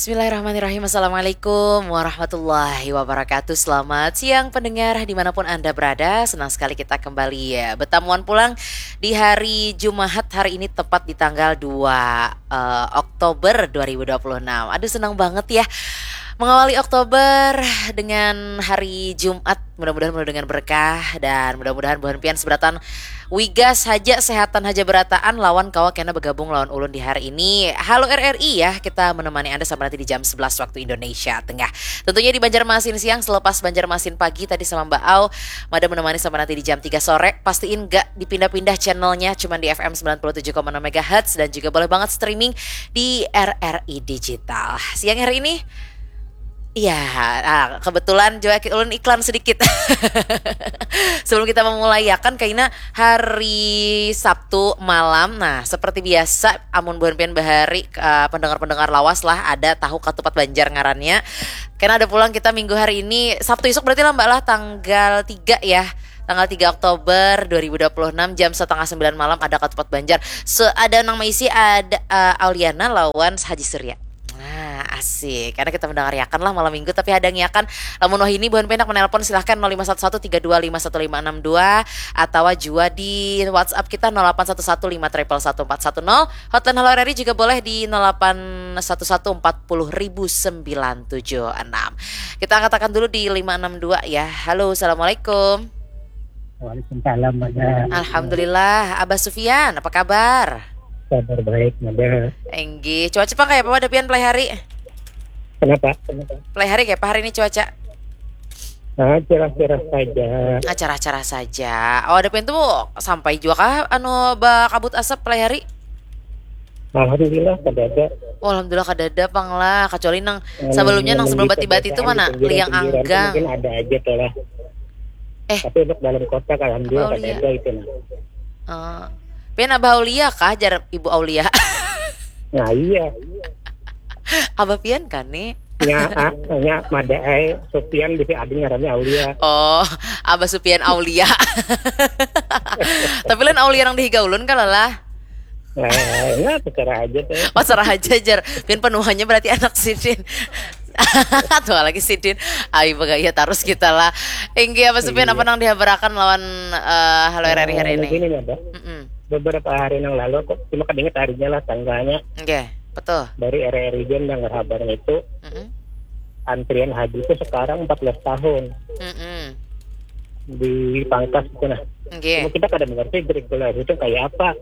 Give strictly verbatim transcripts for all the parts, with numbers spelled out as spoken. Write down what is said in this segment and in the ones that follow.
Bismillahirrahmanirrahim. Assalamualaikum warahmatullahi wabarakatuh. Selamat siang pendengar dimanapun Anda berada. Senang sekali kita kembali ya bertamuan pulang di hari Jumahat hari ini tepat di tanggal dua eh, Oktober dua ribu dua puluh enam. Aduh senang banget ya mengawali Oktober dengan hari Jumat. Mudah-mudahan penuh dengan berkah dan mudah-mudahan buhan pian seberatan wigas haja, sehatan haja berataan lawan kawa kena bergabung lawan ulun di hari ini. Halo R R I ya, kita menemani Anda sampai nanti di jam sebelas waktu Indonesia Tengah. Tentunya di Banjarmasin siang, selepas Banjarmasin pagi tadi sama Mbak Au, Mada menemani sampai nanti di jam tiga sore. Pastiin gak dipindah-pindah channelnya, cuman di F M sembilan puluh tujuh koma enam megahertz dan juga boleh banget streaming di R R I Digital. Siang hari ini, iya, ah, kebetulan juga ki-, ulun iklan sedikit. Sebelum kita memulai ya kan, kaina hari Sabtu malam. Nah, seperti biasa, amun buhan pian bahari, eh, pendengar-pendengar lawas lah, ada tahu katupat Banjar ngarannya. Karena ada pulang kita minggu hari ini, Sabtu isuk berarti lah Mbak lah, tanggal tiga ya. Tanggal tiga Oktober dua ribu dua puluh enam jam setengah sembilan malam ada katupat Banjar. Se-, ada nang maisi, ada, eh, Auliana lawan Haji Surya. Nah, asik. Karena kita mendengarkan lah malam minggu, tapi hadangiakan. Lamun wahini buhan pian handak menelpon, silahkan nol lima satu satu tiga dua lima satu lima enam dua, atau jua di WhatsApp kita nol delapan satu satu lima triple satu empat satu nol. Hotline Halo R R I juga boleh di nol delapan satu satu empat puluh ribu sembilan tujuh enam. Kita angkatakan dulu di lima enam dua ya. Halo, assalamualaikum. Waalaikumsalam, Mada. Alhamdulillah, Abah Sufian, apa kabar? Kabar baik, Mada. Enggih, cuaca pang kaya apa Mada pian pelai hari? Kenapa? Pelai hari kaya apa hari ini cuaca? Ah, cerah-cerah saja. Ah, cerah-cerah saja. Oh, ada pian tuh sampai juga kah anu bakabut asap pelai hari? Alhamdulillah, kadada. Oh, alhamdulillah kadada pang lah. Kecuali nang sebelumnya, nang sebelum bati-bati itu mana? Liang Anggang. Mungkin ada aja tuh lah. Eh. Tapi untuk dalam kota, alhamdulillah, kadada itu nah. Eh, pian Abah Aulia kah? Jar Ibu Aulia. Nah, iya. Abah pian kan nih? Nya, ah, nya Mada ai, Sufian bisa ada ngarannya Aulia. Oh, Abah Sufian Aulia. Tapi lain Aulia nang dihiga ulun kah lah. Eh, ya, terserah aja tuh. Oh, serah aja, jar. Pian panuhanya berarti anak sidin. Tua lagi sidin. Ai, bagaya tarus kita lah. Inggih, Abah Sufian, apa nang dihabarakan lawan, eh, Halo R R I hari ini? Begini, Mada. Mm-mm. Beberapa hari yang lalu, aku cuma kadingat harinya lah, tanggalnya. Oke, betul. Dari R R I Jam dengar habarnya itu, Mm-mm. antrian haji itu sekarang empat belas tahun. Mm-mm. Dipangkas gitu nah. Oke. Cuma kita kada mengerti regulasi itu kayak apa.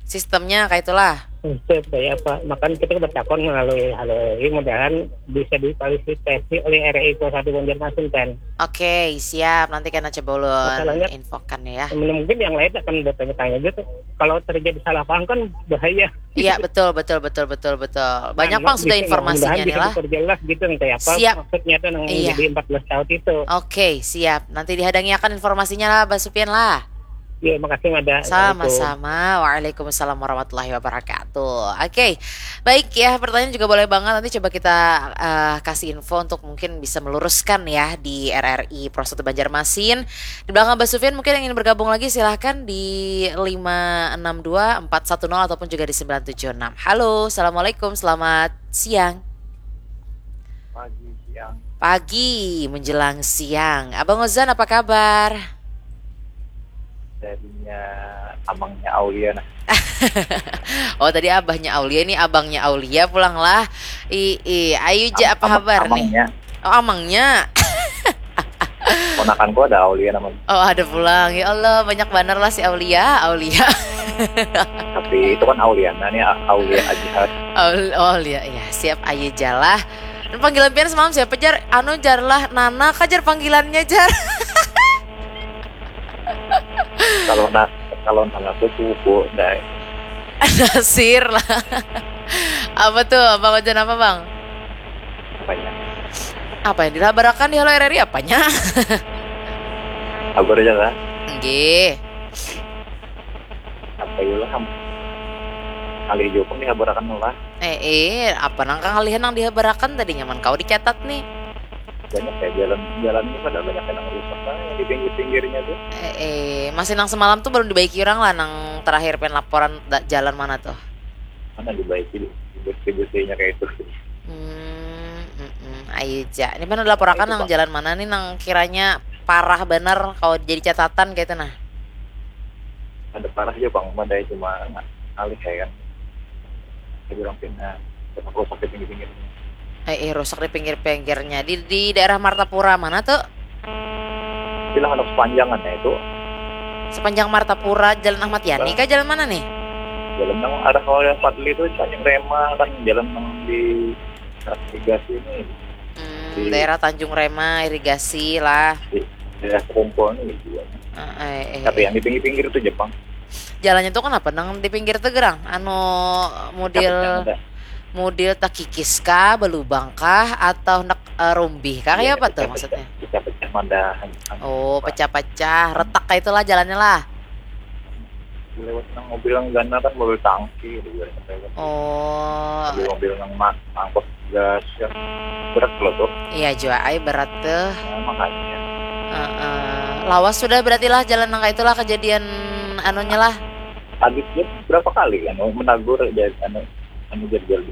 Sistemnya kayak itulah. Itu kayak apa. Makanya kita bertakon melalui Halo R R I, mudahan bisa difasilitasi oleh R R I Kuasa Satu Banjarmasin kan. Oke, siap. Nanti kena coba ulun infokan ya. Mungkin yang lain akan bertanya-tanya gitu. Kalau terjadi salah paham kan bahaya. Iya, betul, betul, betul, betul, betul. Banyak pang sudah informasinya nih lah. Diperjelas gitu nih, kayak apa maksudnya tuh nang jadi empat belas tahun itu. Oke, siap. Nanti dihadangiakan informasinya lah, Bah Supian lah. Iya, makasih Mada. Sama-sama. Waalaikumsalam warahmatullahi wabarakatuh. Oke. Baik ya, pertanyaan juga boleh banget. Nanti coba kita, eh, kasih info untuk mungkin bisa meluruskan ya di R R I Pro satu Banjarmasin. Di belakang Bah Sufian mungkin yang ingin bergabung lagi, silahkan di lima enam dua empat satu nol ataupun juga di sembilan tujuh enam. Halo, assalamualaikum, selamat siang. Pagi, siang. Pagi menjelang siang. Abang Ozan, apa kabar? Darinya amangnya Aulia nah. Oh, tadi abahnya Aulia, ini abangnya Aulia pulang lah. I, i, ayu ja, apa kabar nih? Amangnya. Oh, amangnya. Ponakanku ada Aulia namanya. Oh, ada pulang. Ya Allah, banyak banar lah si Aulia, Aulia. Tapi itu kan Auliana nih, A-, Aulia Ajihad. Aul-, Aulia, ya, siap, ayu ja lah. Dan panggilan pian semalam siapa, jar? Anu, jar lah, Nana kah, jar, panggilannya, jar? Kalau na-, kalau Nana tuh pupu, dai. Nasir lah. Apa tuh? Apa, Bang Ojan, apa, Bang? Apanya? Apa yang dihabarakan di Halo R R I apanya? Habar aja lah. Nggih. Apa ya lah, ham-, ngalih jua pang dihabarakan lah. Eh, eh, apa nang kangalihan nang dihabarakan tadi, nyaman kau dicatat nih. Banyak ya jalan, jalan ini pada banyak yang rusak lah yang di pinggir-pinggirnya tuh. Eh, eh, masih nang semalam tuh belum dibaiki orang lah, nang terakhir pian laporan da-, jalan mana tuh? Mana dibaiki, dibersih-bersihnya kayak itu. Hmm. Ija, ini mana laporakan nang jalan mana nih nang kiranya parah bener kalau jadi catatan kayak itu nah. Ada parah aja bang, ada cuma alih ya kan. Jadi orang pindah, cuma rusak di pinggir-pinggir. Eh, eh rusak di pinggir-pinggirnya di di daerah Martapura mana tuh? Bilang ada sepanjangan ya itu. Sepanjang Martapura, Jalan Ahmad Yani kah jalan mana nih? Jalan yang arah kalau yang Fadli itu sepanjang Rema kan, jalan yang di irigasi ini. Hmm, daerah Tanjung Rema, irigasi lah. Di daerah Sekumpul ini juga. Eh, eh, Tapi yang di pinggir-pinggir itu Jepang. Jalannya tuh kenapa nang di pinggir tuh gerang? Anu mudil Ada mudil takikis kah, belubang kah, atau nak eh, rumbih kah? Kayak apa tuh maksudnya? Pecah-pecah madahan. Oh, pecah-pecah, retak kayak itulah jalannya lah. Lewat nang mobil yang gana kan mobil tangki gitu, lewat. Oh, Mobil-mobil yang ma- angkut gas yang berat loh tuh. Iya juga, ay berat tuh. Nah, makanya Heeh. Lawas sudah berarti lah jalan nang kayak itulah kejadian anunya lah. Habis dia berapa kali kan menagur aja anu anu jadwal di